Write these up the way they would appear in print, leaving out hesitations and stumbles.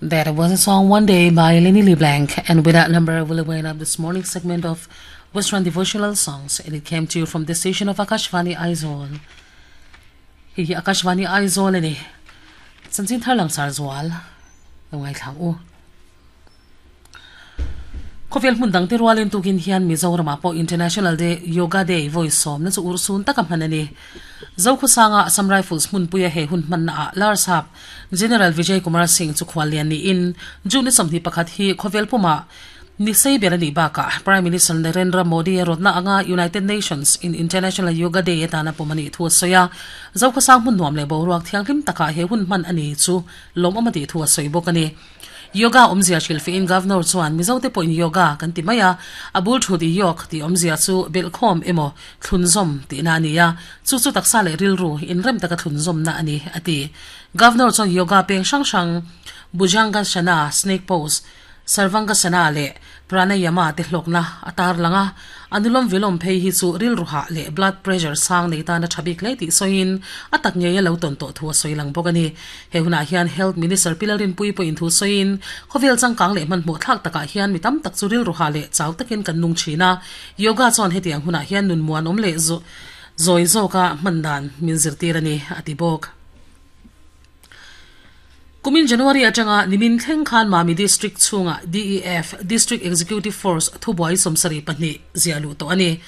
That was a song One Day by Lenny LeBlanc. And with that number, we'll wind up this morning segment of Western Devotional Songs. And it came to you from the station of Akashvani Aizawl. Hi hi Akashvani Aizawl ani. Chanchin thar langsar zual. Lo ngaithla ang u. Khawvel hmun dangte rualin tukin hian Mizoramah pawh International Day Yoga Day vawi sawmna chu urhsun taka hman a ni. Zokhawsanga Assam Rifles hmunpuia he hun hmannaah Larsap General Vijay Kumar Singh chu khuallian niin June ni 21 hi khawvel pumah ni sei ber a nih bakah Prime Minister Narendra Modi a rawtna anga United Nations in International Yoga Day atana pawm a nih thu a sawi a. Zokhawsang hmun nuam leh boruak thianghlim takah he hun hman a ni chu lawmawm a tih thu a sawi bawk a ni. Yoga awmzia hrilhfihin Governor chuan Mizote pawhin yoga kan ti mai a, a bul thut i yog tih awmzia chu belhkhawm emaw thlunzawm tihna a ni a, chu chu taksa leh rilru inrem taka thlunzawmna a ni, a ti. Governor chuan yoga peng hrang hrang Bhujangasana, Snake Pose, Sarvangasana leh Pranayama te hlawkna a tarlang a, Anulom Vilom phei hi chu rilru hah leh blood pressure sang nei tan a tha bik hle tih sawiin a tak ngei a lo tawn tawh thu a sawi lang bawk a ni. He hunah hian Health Minister Pi Lalrinpuii pawhin thu sawiin khawvel changkang leh hmanhmawh thlak takah hian mi tam tak chu rilru hah leh chau takin kan nung thin a, yoga chuan hetiang hunah hian nun muanawm leh zawi zawka hman dan min zirtir a ni, a ti bawk. Kumin January atanga nimin thleng khan Mami District chhungah DEF, District Executive Force, thubuai 72 ziah luh tawh a ni.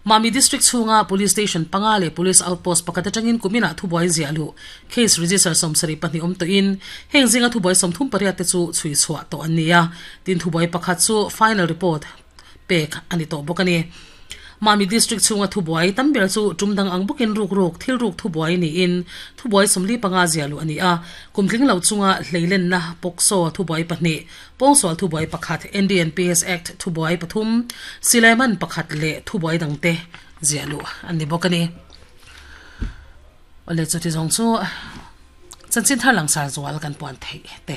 Mami District chhunga Police Station panga leh Police Outpost pakhat atangin kuminah thubuai ziah luh case register 72 awm tawhin heng zinga thubuai 38 te chu chhui chhuah tawh an ni a, tin thubuai pakhat chu final report pek a ni tawh bawk a ni. Mami District chhunga thubuai tam ber chu tum dang ang bawkin ruk ruk thil ruk thubuai niin thubuai 45 ziah luh a ni a. Kum tling lo chunga hleilenna POCSO thubuai pahnih, pawngsual thubuai pakhat, NDNPS Act thubuai pathum, silaiman pakhat leh thubuai dangte ziah luh a ni bawk a ni. Awle chuti zawng chu chanchin thar langsar zual kan puan theih te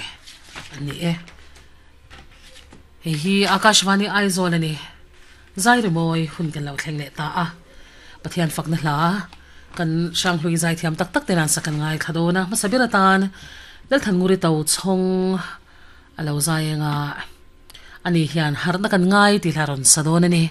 a ni e. Hei hi Akashvani Aizawl a ni. Zai rimawi hun kan lo thleng leh ta a. Pathian fakna hla kan Hranghlui zaithiam tak tak te nan sak kan ngaithla dawn a. Hmasa ber atan Lalthannguri Tochhawng a lo zai anga ani hian harhna kan ngai tih hla rawn sa dawn a ni.